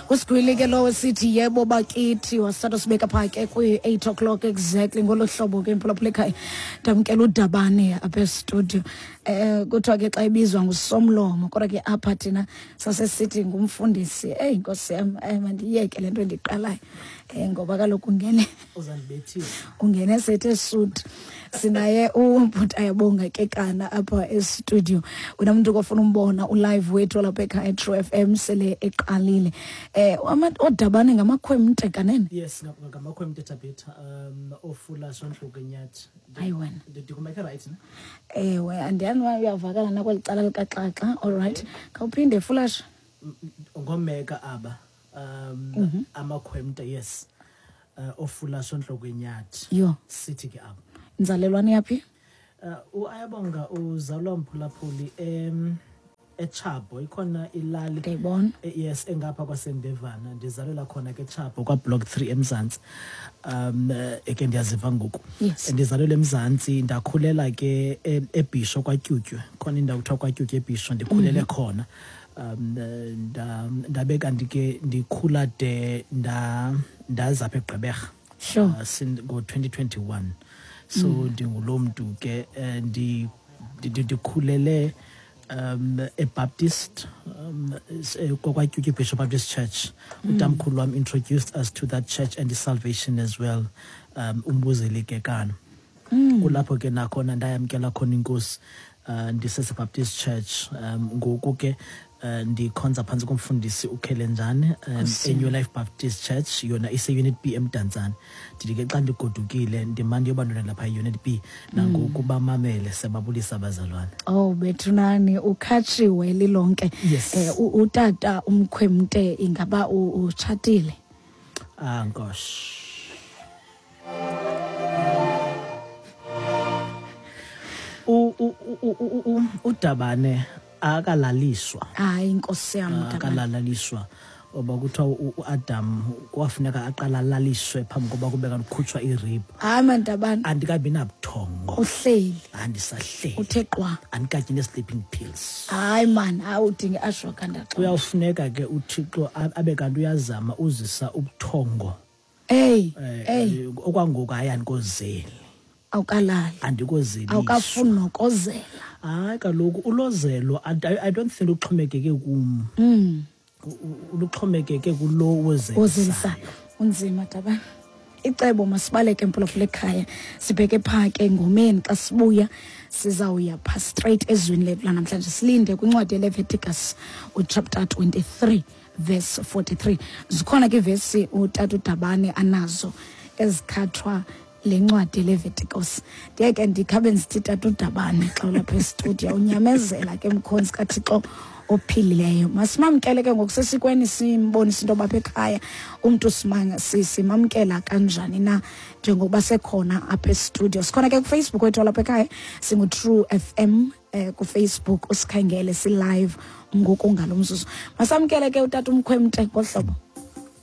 Usigwili ke lowo sithi yebo bakithi, wasithatha sibeka phaa ke kwi-8 o'clock exactly ngolo hlobo ke, mphulaphula ekhaya. Ndamkela uDabane apha estudio. Kuthiwa ke xa ibizwa ngusomlomo, kodwa ke apha thina sasesithi ngumfundisi. Eyi nkosi yam, mandiyeke le nto endiqalayo, ngoba kaloku ungene Uzandibethisa. Ungene sethe suit. Sinaye ubhuti Ayabonga Kekana apha estudio. Wena mntu kofuna umbona ulive wethu lapha ekhaya, True FM sele eqalile. Oodabane ngamakhwemte kanene? Yes, ngamakhwemte, Tabitha, ofula sontluke nyathi. Hayi wena. Ndikumeke right ne? Ewe, andiyani uba uyavakala nakweli cala likaXaxa. All right, khawuphinde, Fulash. Ngomeka aba amakhwemte, yes, ofula sontloko enyathi. Yho. Sithi ke apha. Inzalelwane yaphi? Uayabonga uzalwa, mphulaphuli, eChabo, ikhona ilali. Ndiyayibona. Yes, engapha kwaseNdevana. Ndizalelwa khona ke eChabo, kwaBlock 3 eMzantsi. Eke ndiyaziva ngoku. Ndizalelwe eMzantsi, ndakhulela ke eBhisho kwaTyutywe. Khona indawo kuthiwa kwaTyutywe eBhisho, ndikhulele khona. Ndabe kanti ke ndikhula de ndaza apha eGqeberha. Ngo-2021. So ndingulo mntu ke, ndikhulele eBaptist, kwaTyutywe Bishop Baptist Church. Utamkhulu wam introduced us to that church and the salvation as well. Umbuzeli Kekana. Kulapho ke nakhona ndayamkela khona inkosi, ndisese Baptist Church. Ngoku ke ndikhonza phantsi komfundisi uKhelenjane eNew Life Baptist Church, yona ise Unit B eMdantsane. Ndithi ke xa ndigodukile ndimane ndiyobantwana lapha eUnit B, nangoku bamamele, siyababulisa abazalwane. Oh bethunani, ukhatshiwe lilonke. Yes. Utata umkhwemte ingaba utshatile? Ah, nkosi. UDabane akalaliswa. Hayi nkosi yam, Dabane. Akalaliswa. Oba kuthiwa uAdam kwafuneka aqala alaliswe phambi koba kube kanti kukhutshwa irib. Hayi man, Dabane. Andikabi nabuthongo. Uhleli. Andisahleli. Uthe qwa. Andikatyi ne-sleeping pills. Hayi man, hayi udinga i-ashwagandha xa. Kuyawufuneka ke uThixo abe kanti uyazama uzisa ubuthongo. Ey, ey. Okwangoku hayi andikozeli. Awukalali. Andikozeli. Awukafuni nokozela. Hayi kaloku ulozelo, I don't think luxhomekeke kum. Luxhomekeke kulo wozelisayo. Wozelisayo. Unzima, Dabane. Icebo masibaleke, mphulaphula ekhaya, sibheke phaa ke ngomeni. Xa sibuya sizawuya phaa straight ezwini lethu lanamhlanje, silinde kwincwadi yeLeviticus uchapter 23 verse 43. Zikhona ke ivesi utata uDabane anazo ezikhathwa le ncwadi yeLeviticus. Ndiye ke ndikhabe ndisithi tata uDabane xa ulapha estudio unyamezela ke, mkhonzi kaThixo ophilileyo. Masimamkele ke ngokusesikweni, simbonise into yoba apha ekhaya umntu simamkela kanjani na njengokuba sekhona apha estudio. Sikhona ke kuFacebook wethu walapha ekhaya, singu-True FM kuFacebook, usikhangele, si-live ngoku ngalo mzuzu. Masamkele ke utata umkhwemte ngohlobo.